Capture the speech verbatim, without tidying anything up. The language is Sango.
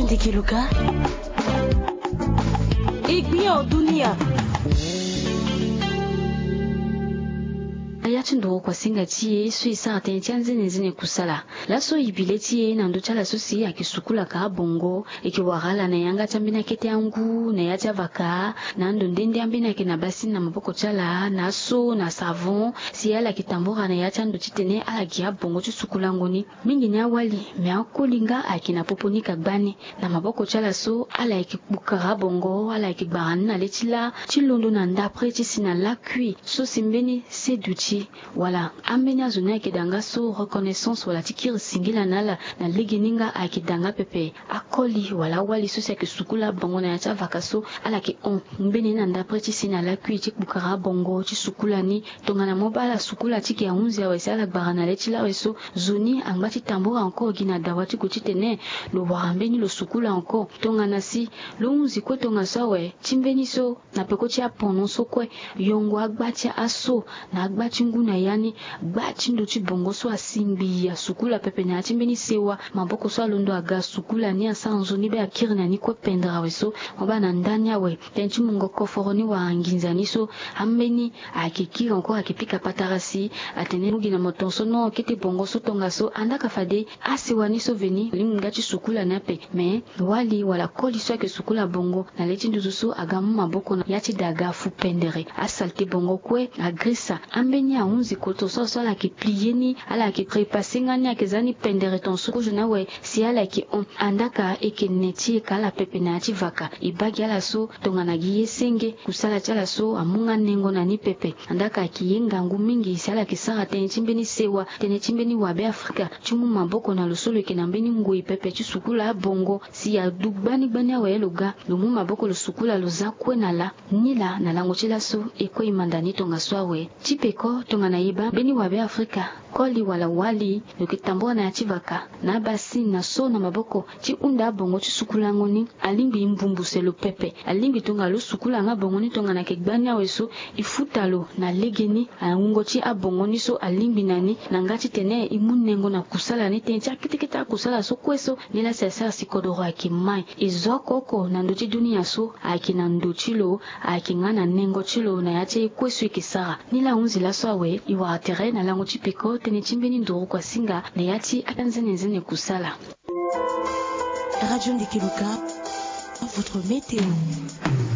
Ndiki luka. Ikpio dunia. Aya ti nduru kuasinga ti e so e sara tënë ti anzenenzene kusala. Laso e bi le ti e na ndö ti ala so si ayeke sukulaka abongo, e yeke wara ala na yanga ti ambeni akete angu na ya ti avaka, na ando nde nde ambeni ayeke na basini na maboko ti ala na aso na savon, si ala yeke tambura na ya ti ando titene ala gi abongo ti sukulango ni. Mingi ni awali, me akoli nga ayeke na popo ni ka gbani. Na maboko ti ala so ala yeke kpukara abongo, ala yeke gbara ni na le ti lâ ti londo na ndapre ti si na lakui so si mbeni se duti. Wala ambeni azo ni ayeke da nga so reconnaissance wala ti kiri singila na ala na legeni nga ayeke da nga pepe. Akoli wala awali so si ayeke sukula abongo na ya ti avaka so ala yeke hon mbeni na ndapre ti si na lakui ti kpukara abongo ti sukula ni. Tongana mo baa ala sukula ti gi ahunzi awe si ala gbara na le ti lâ awe so, zo ni angba ti tambura encore gi na dawa ti gue titene lo wara mbeni lo sukula encore. Tongana si lo hunzi kue tongaso awe ti mbeni so na peko ti apono so kue, yongo agba ti aso na agba ti ngu na ya ni, gba ti ndo ti bongo so asi ngbii asukula pepe na ya ti mbeni sewa maboko so alondo aga asukula ni asara nzoni be akiri na ni kue pendere awe so. Mo baa na ndani awe, tënë ti mungo koforo ni wala nginza ni so, ambeni ayeke kiri encore ayeke pika patara si atene mu gi na mo tongaso no kete bongo so tongaso. Andaa ka fade asewa ni so veni alingbi nga ti sukula ni ape. Me wali wala koli so ayeke sukula bongo na le ti nduzu so aga mu maboko na ya ti daga fu pendere. Asalte bongo kue agrisa. Ambeni ahunzi koto so so ala yeke plie ni, ala yeke trepase nga ni ayeke za ni pendere tongaso kozo ni awe. Si ala yeke hon, andaa ka e yeke ne ti e ka ala pepe na ya ti vaka. E baa gi ala so tongana gi ye senge, kusala ti ala so amu nga nengo na ni pepe. Andaa ka ayeke ye ngangu mingi si ala yeke sara tënë ti mbeni sewa, tënë ti mbeni wabe afrika ti mu maboko na lo so lo yeke na mbeni ngoi pepe ti sukula abongo. Si adu gbani gbani awe lo ga, lo mu maboko lo sukula lo za kue na lâ. Nilaa na lango ti laso e kue e manda ni tongaso awe. Ti peko tongana e baa mbeni wabe afrika, koli wala wali, lo yeke tambula na ya ti vaka na abasini na so na maboko ti hunda abongo ti sukulango ni. Alingbi e mbumbuse lo pepe. Alingbi tongana lo sukula nga bongo ni tongana ayeke gbani awe so, e futa lo na legeni awungo ti abongo ni so alingbi na ni, na nga titene e mu nengo na kusala ni, tënë ti akete kete akusala so kue so. Nilaa si asara si kodoro ayeke mai. E zo oko oko na ndö ti dunia so ayeke na ndo ti lo, ayeke nga na nengo ti lo na ya ti aye kue so e yeke sara. Nilaa ahunzi laso awe, e wara tere na lango ti peko tënë ti mbeni nduru kuasinga na ya ti anzenenzene kusala. Radio Ndiki Luka, votre météo.